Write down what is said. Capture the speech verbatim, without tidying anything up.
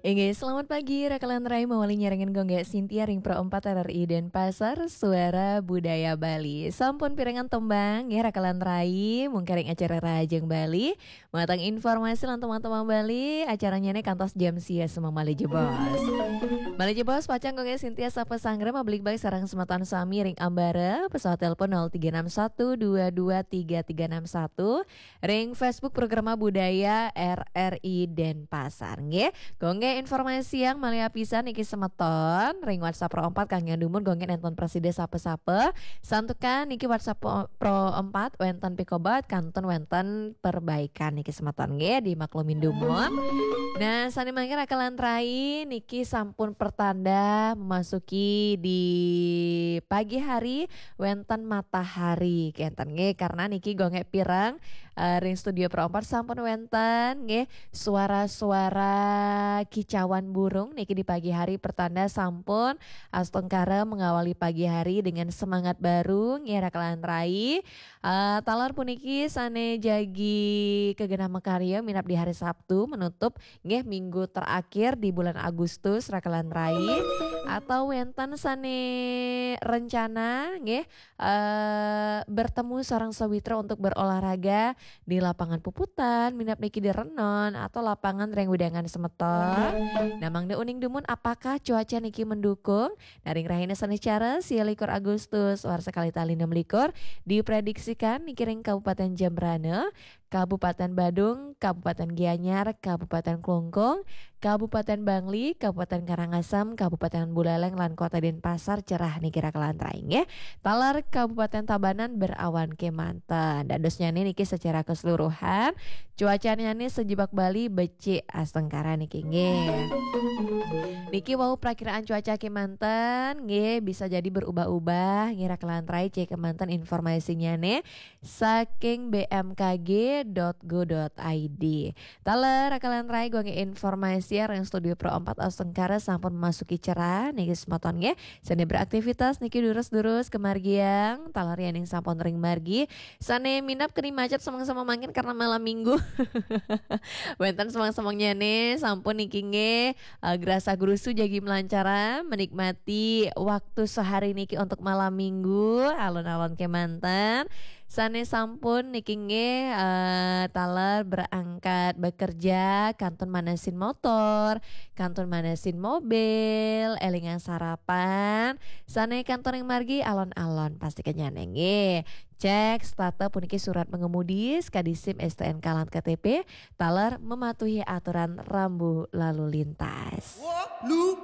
Inggih, selamat pagi, Raka lan Rai, mawali nyarengin Gung Gé Sintia ring Pro empat R R I Denpasar, Suara Budaya Bali. Sampun pirengang tembang, nggih, Raka lan Rai, mungkara ring acara Rahajeng Bali. Matang informasi lan tembang-tembang Bali, acarannyané kantos jam sia semeng malih jebos. Malih jebos, pacang Gung Gé Sintia sapa sanggra mabligbaté sareng semeton sami ring ambara, pesawat telepon nol tiga enam satu dua dua tiga tiga enam satu, ring Facebook Programa Budaya R R I Denpasar, nggih. Gung Gé informasiang malih apisan niki semeton, ring WhatsApp Pro empat kanggé dumun Gung Gé nénten prasida sapa-sapa. Santukan niki WhatsApp Pro, Pro empat wénten pikobet kantun wénten perbaikan niki semeton, nggih, dimaklumin dumun. Nah, sané mangkin Raka lan Rai niki sampun pertanda memasuki di pagi hari wénten matahari kénten, nggih, karena niki Gung Gé pireng, eh, ring studio Pro empat sampun wénten, nggih, suara-suara kicauan burung niki di pagi hari pertanda sampun astungkara mengawali pagi hari dengan semangat baru, nggih, Raka lan Rai. Eh, taler puniki sané jagi kagenah makarya minab di hari Sabtu menutup, nggih, minggu terakhir di bulan Agustus, Raka lan Rai, atau wénten sané rencana, nggih, eh, bertemu sareng sawitra untuk berolahraga di lapangan puputan, minab niki di renon, atau lapangan ring wewidangan semeton. Nah, mangda uning dumun apakah cuaca niki mendukung? Nah, ring rahina sané cara, sia likur Agustus, warsa kalih tali enam likur, diprediksikan niki ring Kabupaten Jembrana, Kabupaten Badung, Kabupaten Gianyar, Kabupaten Klungkung, Kabupaten Bangli, Kabupaten Karangasem, Kabupaten Buleleng, lan Kota Denpasar cerah niki Raka lan Rai, nggih. Taler Kabupaten Tabanan berawan kémanten. Dadosnyané niki secara keseluruhan, cuacannyané sajebag Bali becik astungkara niki, nggih. Niki wau prakiraan cuaca kémanten, nggih, bisa jadi berubah-ubah, nggih, Raka lan Rai, cek kémanten informasinyané saking B M K G dot go dot I D. Taler, Raka lan Rai, Gung Gé informasi ring studio Pro empat astungkara sampun memasuki cerah niki semeton, nggih. Sané beraktivitas niki durus-durus kamargiang, taler yéning sampun ring margi, sané minab keni macet semeng-semeng mangkin karena malam minggu. Wénten semeng-semengnyané sampun niki, nggih, eh, grasa grusu jagi melancara menikmati waktu sehari niki untuk malam minggu, alon-alon kémanten. Sané sampun niki, nggih, eh, taler berangkat bekerja, kantun manesin motor, kantun manesin mobil, élingang sarapan. Sané kantun ring margi alon-alon, pastikannyané, nggih. Cek setata puniki surat mengemudi, sekadi SIM, STNK, lan K T P, taler mematuhi aturan rambu lalu lintas. Wah, lupa.